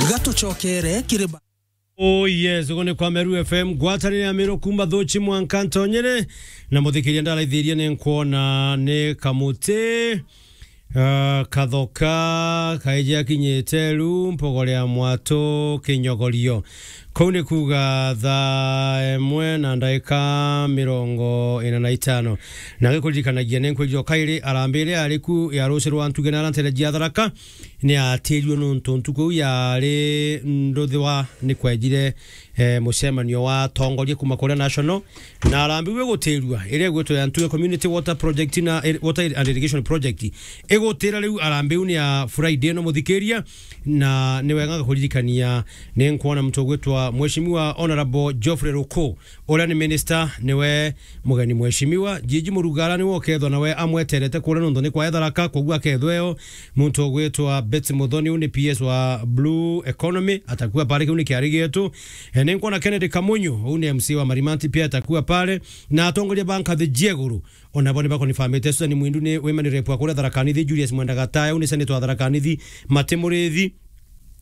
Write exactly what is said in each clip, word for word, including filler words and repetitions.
Gatucokere kiri ba- Oh yes, ugo ni kwa Meru F M, ngwatanire ya Meru kuma Thuchi mwanka Ntonyere, na muthikiria ndaraithirie ni nkwona ni kamuti, ah, kathoka, kaiji akinyite ru, mpogoria mwatu, kinyogorio. Kuu ni kuuga thaa imwe na ndaika mirongo ina na itano. Na ngikuririkanagia ni nkwiji o kairi arambire ari ku ya ruci rwa ntuge na arantere jia Tharaka, ni atirirwe nontu ntuku iu yari nduthwa ni kwejire, eh, mucemanio wa atongoria kuma kuria National, na arambiwe gutirua iria igwitwo ya Ntuge Community Water Project na ir-, Water and Irrigation Project. Igutira riu arambiu ni ya Friday ino muthikiria, na ni wega ngakuririkania ni nkwona muntu ugwitwa Mheshimiwa Honorable Geoffrey Ruku, uria ni minister, niwe mugeni mheshimiwa. Jiji Murugara niwe ukethwa nawe amweterete kuria nontu ni kwa Tharaka, koguo akethwa eo muntu ugwitwa Betty Muthoni, u ni P S wa Blue Economy, atakuwa pale, kiu ni kiari gietu. E, ni nkwona Kennedy Kamunyu, u ni M C wa Marimanti, pia atakuwa pale, na atongoria ba nkathi jia iguru. Ona bo ni bakonifamite. Susan Mwindu ni women rep wa kuria Tharaka Nithi, Julius Mwenda Gataya, u ni senator wa Tharaka Nithi, Mati Murithi,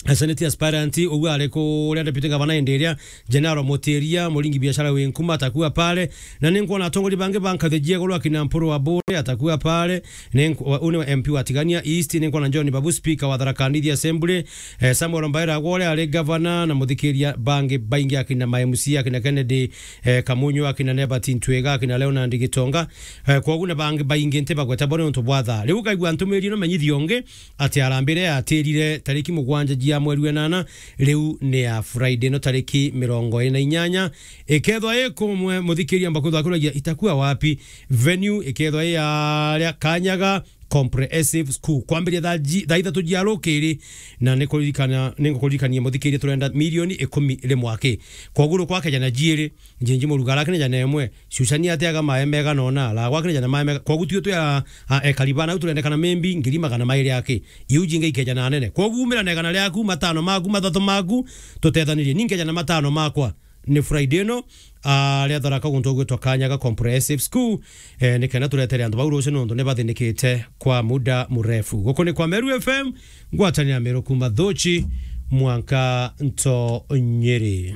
a senate aspirant, uguo ari kuria deputy governor indi iria, General Mutiria, muringi biashara wi nkuma, atakuwa pale. Na ni nkwona atongoria bangi ba nkathi jia iguru, akina Mpuru wa Bure, atakuwa pale. Ni nk-, wa-, u ni M P wa Tigania East. Ni nkwona John Babu, speaker wa Tharaka Nithi Assembly, eh, Samuel Mbaira Agwore ari governor, na muthikiria bangi baingi, akina ma M C, akina Kennedy, eh, Kamunyu, akina Nebat Ntwiga, akina Leonard Gitonga. Eh, kwogu na bangi baingi nti bagweta bo ni untu bwa thaa. Riu ukaigua ntumiri ino menyithio ungi, ati arambire atirire tariki mugwanja jia mweri wa inana, riu ni ya Friday ino tariki mirongo iri na inyanya. Ikethwa i kumwe, muthikiria, mbakwithwa akuragia, itakuwa wapi? Venue ikethwa i aria Kanyaga Comprehensive School. Kwambiria thaa ji-, thaa ithatu jia rukiri, na ni kuririkana, ni ngukuririkania muthikiria, turenda milioni ikumi ri mwaki. Kwogu rukwa kejana jiiri, Njinji Murugara akina jana imwe, Shushani atiaga mae mega nona, Lagwa akina jana mae mega. Kwogu tuo twi a, a, ekari bana, au turendekana maybe ngiri magana mairi aki. Iu jingi ikeja na nene. Kwogu umira na igana riaku, matano maku, mathatu maku, tutethanirie. Ni nkeja na matano makwa. Ni Friday ino, a, ria Tharaka guntu gwitwa Kanyaga Comprehensive School, eh, ni kenda turetere antu bau rucio nontu ni bathinikite kwa muda murefu. Guku ni kwa Meru F M, ngwatanira Meru kuma Thuchi, mwanka Ntonyiri.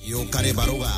Yukari baruga.